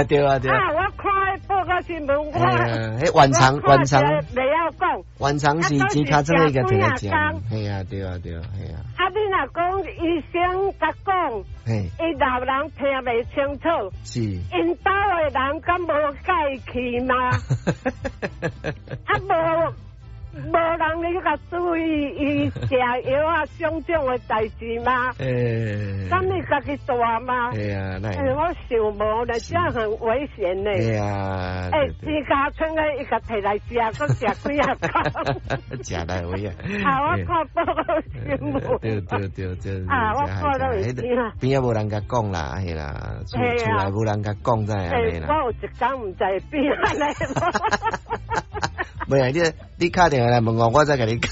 對啊對啊。啊，我看報告新聞，我彼原廠原廠袂曉講，原廠是錢尻川的共摕來食，係啊對啊對啊係啊。啊，你若講醫生共講，伊老人聽袂清楚，是，𪜶兜的人敢無介去嗎？啊無。無人咧共注意伊食藥啊，種種的代誌嗎？敢伊家己帶嗎？欸啊，我想無咧，這很危險呢。欸啊！錢尻川的伊共提來食，閣食幾仔工。食來位啊！啊，我看報告新聞。對對對對。啊，我看到會知啊。邊仔無人共講啦，係啦，厝內無人共講才會按呢啦。我有一工毋知變按呢。袂啊，你你敲電話來問我，我再共你講。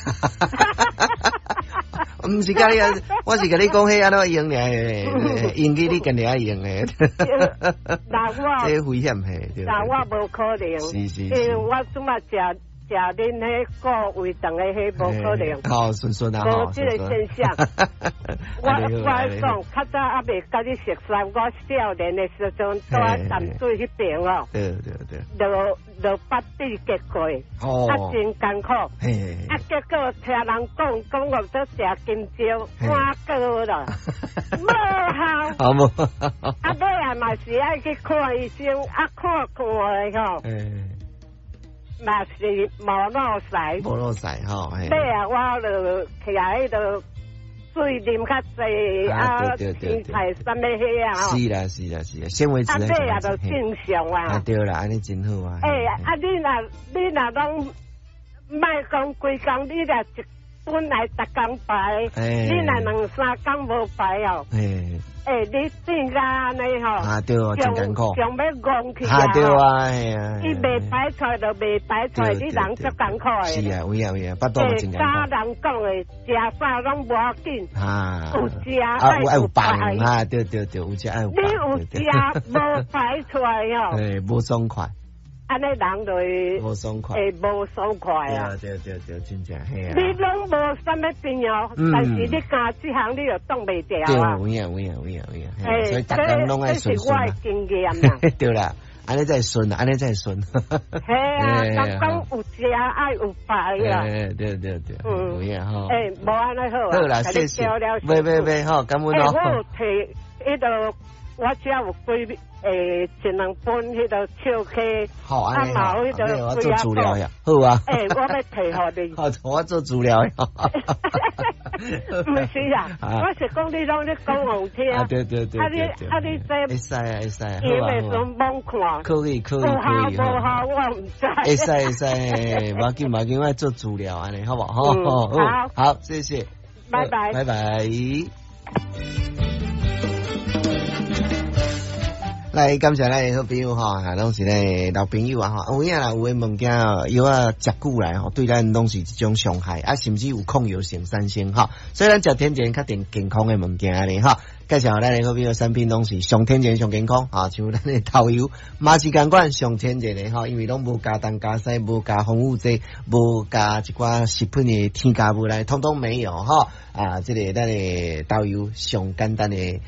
毋是共你啊，我是共你講彼按怎用爾，用機你家己愛用的。那我這危險嘿，那我無可能，是是，因為我這馬食食恁彼個胃腸的彼無可能。好順順啊，無這個現象。我我講較早猶未共你熟識，我少年的時陣住佇淡水彼邊哦。對對對。落落腹子結過，啊真艱苦。啊結果聽人講講我做食金蕉換過啦，無效。好無。啊尾仔嘛是愛去看醫生，啊看看的吼。嘛是無落屎。無落屎吼。尾仔我就起來彼个水啉較濟啊，青菜啥物彼啊吼。是啦是啦是啦，纖維質。啊，尾仔就正常啊。啊對啦，按呢真好啊。欸，啊你若你若攏莫講規工，你若一本來逐工排，你若兩三工無排哦。欸，你變甲按呢吼？啊對哦，真艱苦。像欲戇去啊！對啊，係啊。伊袂排出來就袂排出來，你人足艱苦的。是啊，有影有影，腹肚嘛真艱苦。教人講的，食啥攏無要緊。啊。有食愛有放啊！對對對，有食愛有放。你有食無排出來哦？欸，無爽快。按呢人就會無爽快，會無爽快啊！對對對，真正係啊！你攏無啥物病哦，但是你干這項你就擋袂牢啊！對，有影有影有影有影，所以逐工攏愛順這是我的經驗啊！對啦，按呢才會順，按呢才會順。係啊，人講有食愛有排啊！對對對，有影吼。欸，無按呢好啊！好啦，謝謝。袂袂袂，好，感恩哦。我有提彼个，我遮有幾欸，一兩本彼个笑溪，啊嘛有彼个我做資料呀，好啊。欸，我欲提予你。好，我做資料。毋是啊，我是講你攏咧講予聽。啊對對對。啊你啊你這會使啊會使。伊袂順罔看。可以可以可以。有效無效我毋知。會使會使，無要緊無要緊，我做資料按呢，好無？好，好，好，謝謝。拜拜。拜拜。來感謝咱的好朋友吼，啊，攏是咧老朋友啊吼，有影啦，有的物件藥仔食久來吼，對咱攏是一種傷害啊，甚至有抗藥性產生吼，所以咱食天然較定健康的物件咧吼。介紹咱的好朋友產品攏是上天然上健康，啊，像咱的豆油嘛是仝款上天然的吼，因為攏無加東加西，無加防腐劑，無加一寡食品的添加物來，統統沒有吼。啊，這个咱的豆油上簡單的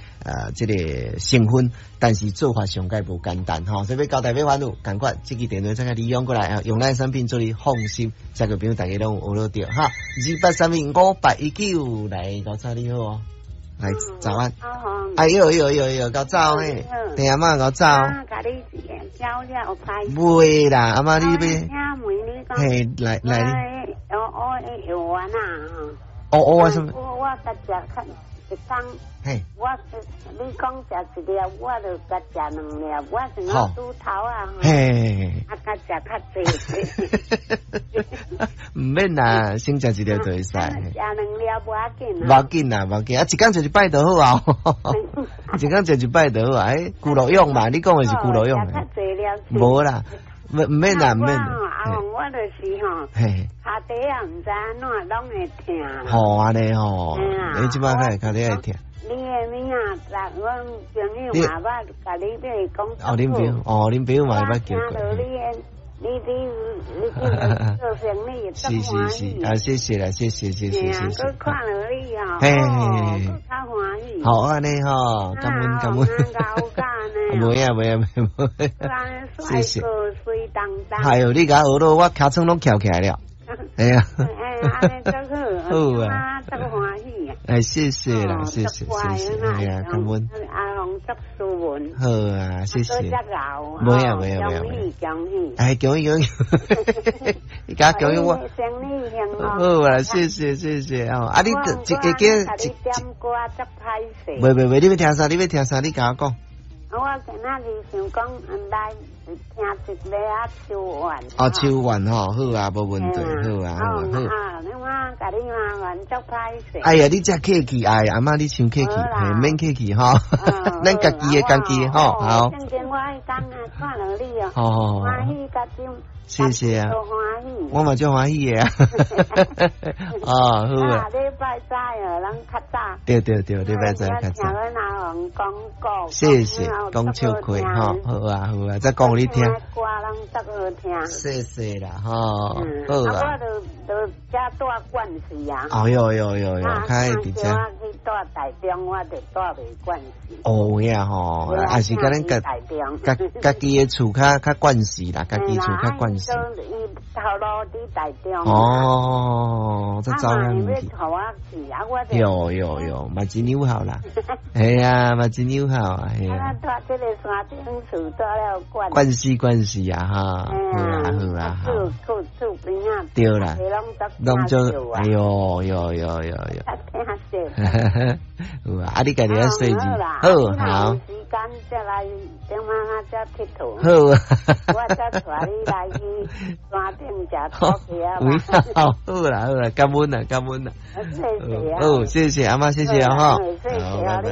這个成分，但是做法上蓋無簡單吼，所以欲交代欲煩惱，仝款這支電話再共利用過來啊，用咱產品做你放心，這個朋友大家攏有學著哈。28315819來，高早你好哦，來早安。哎呦呦呦呦，較早嘿，對阿嬤較早。袂啦，阿嬤你欲？嘿，來來。我藥丸啊。哦哦，什麼？我共食較一工，嘿，我你講食一粒，我就共食兩粒，我是那豬頭啊，嘿，啊，共食較濟。毋免啦，先食一粒就會使。食兩粒無要緊。無要緊啦，無要緊，啊，一工食一擺就好啊。一工食一擺就好啊，欸，骨肉用嘛，你講的是骨肉用。食較濟了。無啦，毋免啦，毋免。啊，我就是吼，跤蹄仔毋知按怎攏會疼。吼，按呢吼，你這擺開跤蹄會疼。你的名仔，阮朋友嘛捌共你對講。哦，恁朋友，哦，恁朋友嘛捌叫過。聽著你的你做生意是是是，啊，謝謝啦，謝謝謝謝謝謝。閣看著你哦，嘿，閣較歡喜。好按呢吼，感恩感恩。袂啊袂啊袂啊，謝謝。水當當。係哦，你共我學到我尻川攏翹起來了。哎呀。哎，按呢足好。好啊。足歡喜啊。哎，謝謝啦，謝謝謝謝，哎呀，感恩。阿紅足斯文。好啊，謝謝。袂啊袂啊袂啊。恭喜恭喜。哎，恭喜恭喜。你共恭喜我。生意興隆。好啊，謝謝謝謝哦。啊，你一個個一點歌足歹勢。袂袂袂，你欲聽啥？你欲聽啥？你共我講。我今仔日想講來聽一个仔秋怨。哦，秋怨吼，好啊，無問題，好啊，好啊，好。啊，你我共你麻煩足歹勢。哎呀，你遮客氣，哎，阿嬤你傷客氣，嘿，免客氣吼，咱家己的家己的吼，好。正經我彼工啊，看著你哦，歡喜甲真。謝謝啊，歡喜，我嘛足歡喜的啊。哦，好啊。禮拜早哦，咱較早。對對對，禮拜早較早。聽阮阿紅講故。謝謝，講笑話吼，好啊好啊，再講予你聽。歌攏足好聽。謝謝啦，吼，好啊。我就就遮住慣勢啊。哦喲喲喲喲，較會佇遮。我去住台中，我就住袂慣勢。哦呀吼，也是共咱家家家己的厝較較慣勢啦，家己厝較慣勢。伊頭路佇台中。哦，這走遐遠去。有有有，嘛真友好啦。係啊，嘛真友好啊，係啊。住這个山頂厝住了慣。慣勢慣勢啊，哈。好啊好啊好。厝厝邊仔。對啦。攏足，哎喲喲喲喲喲。聽說。有啊，啊你家己愛細緻，好好。時間再來點仔才𨑨迌。好啊。我才帶你來去山頂食土雞仔。好，好啦好啦，感恩啦感恩啦。謝謝啊。好，謝謝阿嬤，謝謝啊吼。好，拜拜。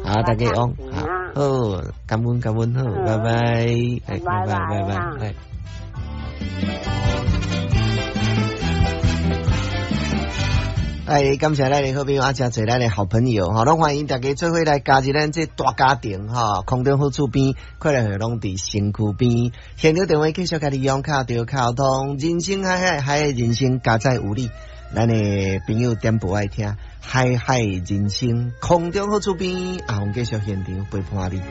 好，大家好，好，感恩感恩，好，拜拜，拜拜拜拜，拜。哎，感謝咱的好朋友啊，誠濟咱的好朋友吼，攏歡迎大家做伙來加入咱這大家庭吼。空中好厝邊，快樂會攏佇身軀邊。現場電話繼續共你用敲著溝通，人生海海，海的人生加載有你。咱的朋友點播愛聽，海海人生，空中好厝邊，阿紅繼續現場陪伴你。